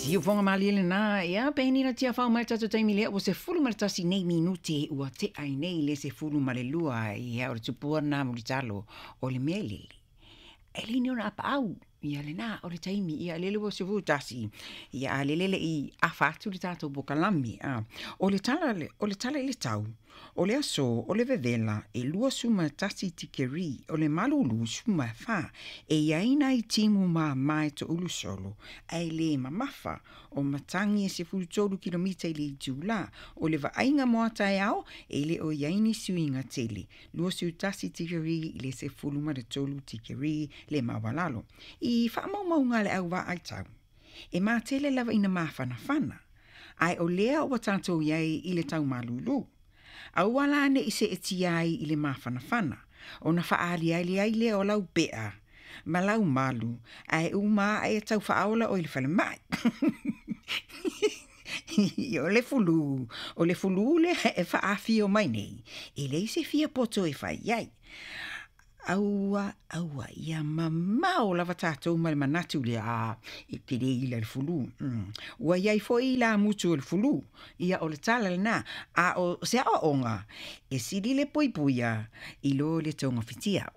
Siufoga malie lenā, ia peni na tiafau mai tatou taimi lea ua 11 nei minute ua tea ai nei le 12, ia o le tupua lena mulitalo o le mea lele. E le ni ona apaau, ia lenā o le taimi, ia lele ua 11, ia a lele le i afa atu le tatou pokalame. O le tala, o le tala i le tau, o le aso o le vevela e 21 tikeri, o le malulu 14, e iai nai timu māmā e toulu solo, ae le mamafa, o matagi e 13 kilomita i le itulā, o le vaaiga mo a taeao, e le o iai ni suiga tele, 21 tikeri i le 13 tikeri le maualalo. I faamaumauga a le au vaai tau, e matele lava ina mafanafana, ae o lea ua tatou iai i le tau malulu. Aua la ne i seetia ai i le mafanafana, ona faaaliali ai lea o lau pea, ma lau malu, ae uma ae tau faaola oe i le falemai. O le fulu, o le fulu lea e faafio mai nei, e leai se fia poto e fai ai. Aua, aua, ia mamao lava tatou ma le manatu lea, a, e tele ila le fulu. Ua iai foi ilamutu o le fulu, ia o le tala lenā, a o se aoaoga, e sili le puipuia i lo le togafitia.